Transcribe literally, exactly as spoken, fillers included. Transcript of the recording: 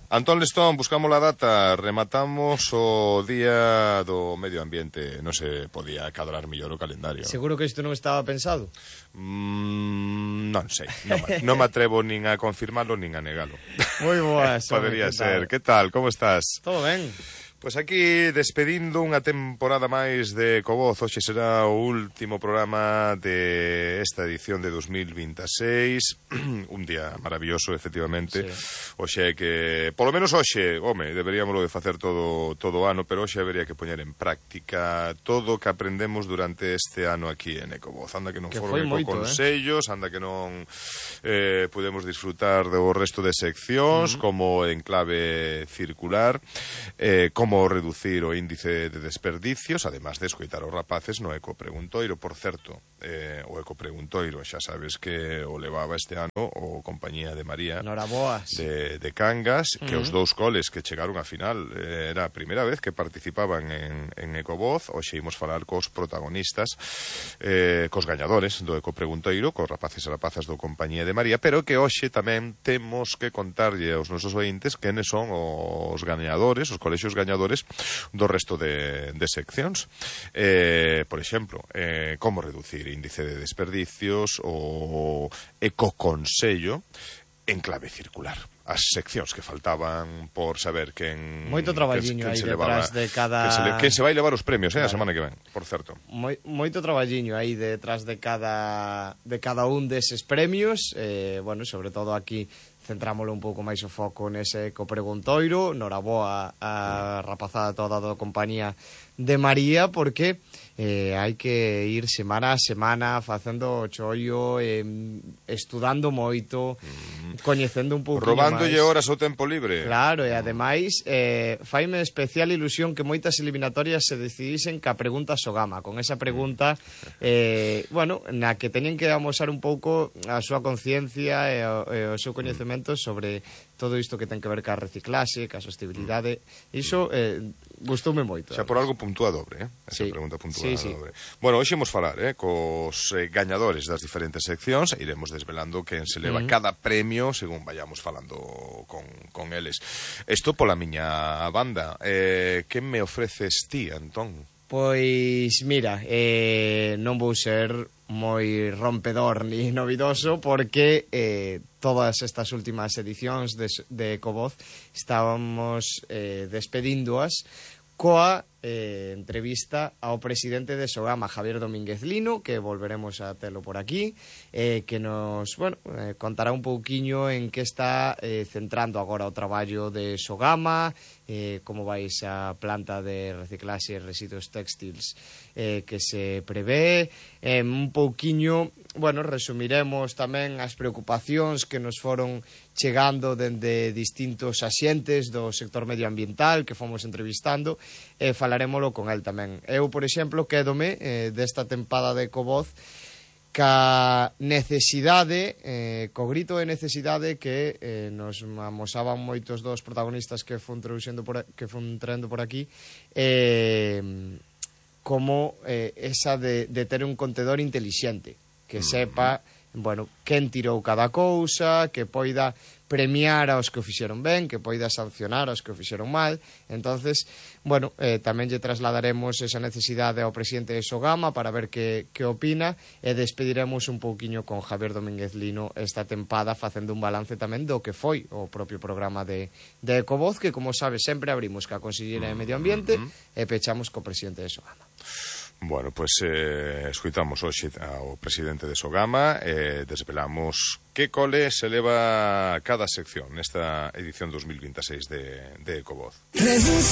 Antón Lestón, buscamos la data, rematamos o día do medio ambiente. Non se podía cadrar mellor o calendario. Seguro que isto non estaba pensado? Mm, non sei, non, non me atrevo nin a confirmarlo nin a negalo. Moi boas. Podería ser. Que tal, como estás? Todo ben. Pois aquí despedindo unha temporada máis de Ecovoz. Hoxe será o último programa de esta edición de dos mil veintiséis. Un día maravilloso, efectivamente. Sí. Hoxe é que, polo menos hoxe, home, deberíamoslo de facer todo todo o ano, pero hoxe habería que poñer en práctica todo o que aprendemos durante este ano aquí en Ecovoz. Anda que non que foron ecoconsellos, eh? Anda que non eh, podemos disfrutar do resto de seccións, uh-huh. como en clave circular, eh, como reducir o índice de desperdicios, además de escoitar os rapaces no Ecopreguntoiro. Por certo, eh, o Ecopreguntoiro xa sabes que o levaba este ano o Compañía de María de, de Cangas, que uh-huh. os dous coles que chegaron a final eh, era a primeira vez que participaban en, en Ecovoz. Hoxe imos falar cos protagonistas, eh, cos gañadores do Ecopreguntoiro, cos rapaces e rapazas do Compañía de María, pero que hoxe tamén temos que contarlle aos nosos ointes quenes son os gañadores, os colexios gañadores do resto de, de seccións. Eh, por exemplo, eh, como reducir índice de desperdicios, o ecoconsello en clave circular. As seccións que faltaban por saber quen... Moito traballiño aí detrás de cada... Quen se, quen se vai levar os premios, eh, vale. A semana que ven, por certo. Moi, moito traballiño aí detrás de cada, de cada un deses premios. Eh, bueno, sobre todo aquí centrámoslo un pouco máis o foco nese Ecopreguntoiro. Noraboa a rapazada toda da Compañía de María, porque eh, hai que ir semana a semana facendo o chollo, eh, estudando moito, mm. coñecendo un pouco máis. Robándolle horas ao tempo libre. Claro, e ademais eh, faime especial ilusión que moitas eliminatorias se decidisen ca pregunta Sogama, con esa pregunta eh, bueno, na que teñen que amosar un pouco a súa conciencia e o, e o seu coñecemento sobre todo isto que ten que ver ca reciclaxe, ca sostenibilidade. Iso eh, gustoume moito. Xa por algo puntúa dobre, eh? Esa sí. pregunta puntúa sí, sí. dobre. Bueno, hoxe imos falar eh, cos eh, gañadores das diferentes seccións e iremos desvelando quen se leva uh-huh. cada premio según vayamos falando con, con eles. Isto pola miña banda. Eh, que me ofreces ti, Antón? Pois, mira, eh, non vou ser moi rompedor ni novidoso, porque eh, todas estas últimas edicións de, de Ecovoz estábamos eh, despedíndoas coa eh, entrevista ao presidente de Sogama, Javier Domínguez Lino, que volveremos a telo por aquí, eh, que nos, bueno, eh, contará un pouquiño en que está eh, centrando agora o traballo de Sogama, eh, como vai esa planta de reciclaxe e residuos textiles eh, que se prevé, eh, un pouquiño, bueno, resumiremos tamén as preocupacións que nos foron chegando dende distintos axentes do sector medioambiental que fomos entrevistando, e falaremoslo con el tamén. Eu, por exemplo, quédome eh, desta tempada de Ecovoz ca necesidade, eh, co grito de necesidade que eh, nos amosaban moitos dos protagonistas que fun traducendo por, que fun traendo por aquí, eh, como eh, esa de, de ter un contedor intelixente, que sepa, bueno, quen tirou cada cousa, que poida premiar aos que o fixeron ben, que poida sancionar aos que o fixeron mal. Entonces, bueno, eh, tamén lle trasladaremos esa necesidade ao presidente de Sogama para ver que, que opina, e despediremos un pouquiño con Javier Domínguez Lino esta tempada, facendo un balance tamén do que foi o propio programa de, de Ecovoz, que, como sabes, sempre abrimos ca Conselleira de Medio Ambiente e pechamos co presidente de Sogama. Bueno, pois pues, eh, escoitamos hoxe ao presidente de Sogama e eh, desvelamos que cole se leva cada sección nesta edición dos mil veintiséis de, de Ecovoz. Reduce